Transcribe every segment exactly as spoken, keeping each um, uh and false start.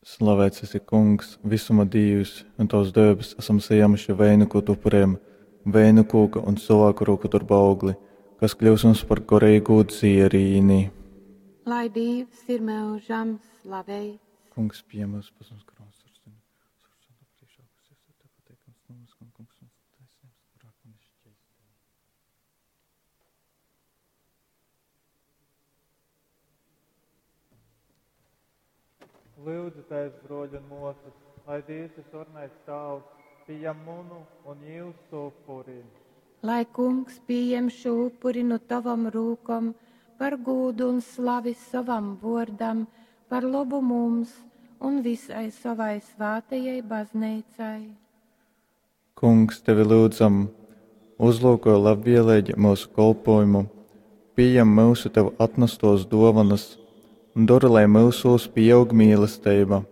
Slavēts esi, Kungs, visuma Dīvs, un tavs dēbes esam sajēmuši vainagot upuriem, vēnu kūka un cilvēku rūku darba augli, kas kļūs mums par gorīgu dzierīni. Lai Dievs ir mūžam slaveits. Kungs, pieņem mūsu pasaules kronas ar suni, priekšā, kas ir tev pateikams, mums, un kungs, mums taisnības, grēku un šķeistē. Lūdzu, tēvs, broļi un mosas, lai Dievs visvarenais Tēvs pieņem munu un jūsu upuri. Lai kungs pieņem šo upuri no tavam rūkom par gūdu un slavi savam vārdam, par labu mums un visai savai svētajai baznīcai. Kungs, tevi lūdzam, uzlūko labvēlīgi mūsu kolpojumu, pieņem mūsu tev atnestos dovanas un dara, lai mūsos pieaug mīlestība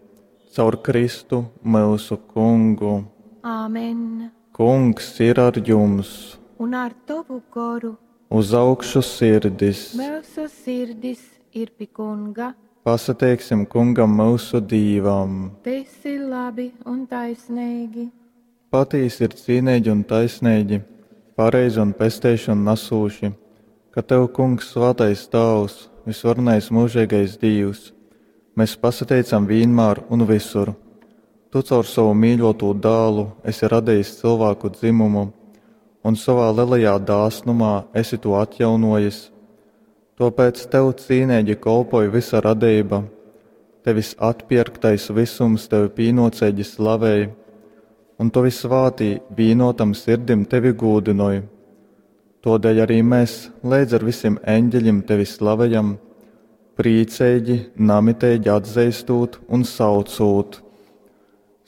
caur Kristu mūsu kungu. Āmen. Kungs ir ar jums, Un ar tavu goru uz augšu sirdis. mūsu sirdis ir pie kunga. Pasateiksim kungam mūsu dīvam. Tas ir labi un taisnīgi. Patīsi ir cīnīgi un taisnīgi, pareizi un pesteiši un nesūši, ka tev, kungs, svētais Tēvs, visvarenais mūžīgais Dievs, mēs pasateicam vienmēr un visur. Tu caur savu mīļoto dēlu esi radījis cilvēku dzimumu, un savā lielajā dāsnumā esi to atjaunojis. Tāpēc tev cīnīgi kolpoja visa radība, tevis atpirktais visums tevi pīnocīgi slavēja, un tavi svātī vīnotam sirdim tevi gūdinoja. Todēļ arī mēs līdz ar visiem eņģeļiem tevi slavējam, priecīgi, namitīgi atzīstot un saucot.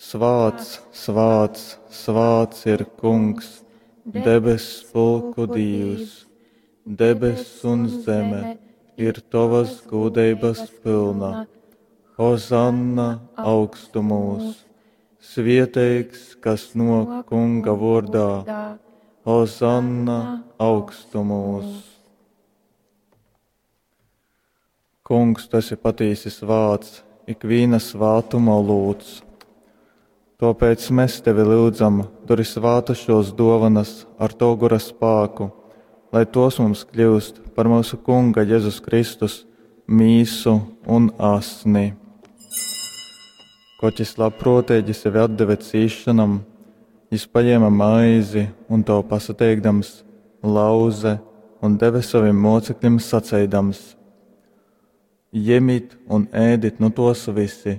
Svāts, svāts, svāts ir kungs, debes pulku Dievs, debes un zeme ir tavas gudrības pilna. Hozanna augstumos, svieteigs, kas no kunga vārdā. Hozanna augstumos. Kungs, tu esi patīsi svāts, ikviena svātuma lūdz. Tāpēc mēs tevi lūdzam, dori svāta šos dovanas ar to gura spēku, lai tos mums kļūst par mūsu Kunga Jēzus Kristus mīsu un asni. Koķis labprātīgi sevi atdeva cīšanam, jis paņēma maizi un to pasateikdams, lauze un deva saviem mocekļiem saceidams: Ņemiet un ēdit nu tos visi,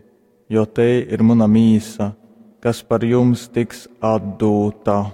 jo te ir mana mīsa, kas par jums tiks atdūta.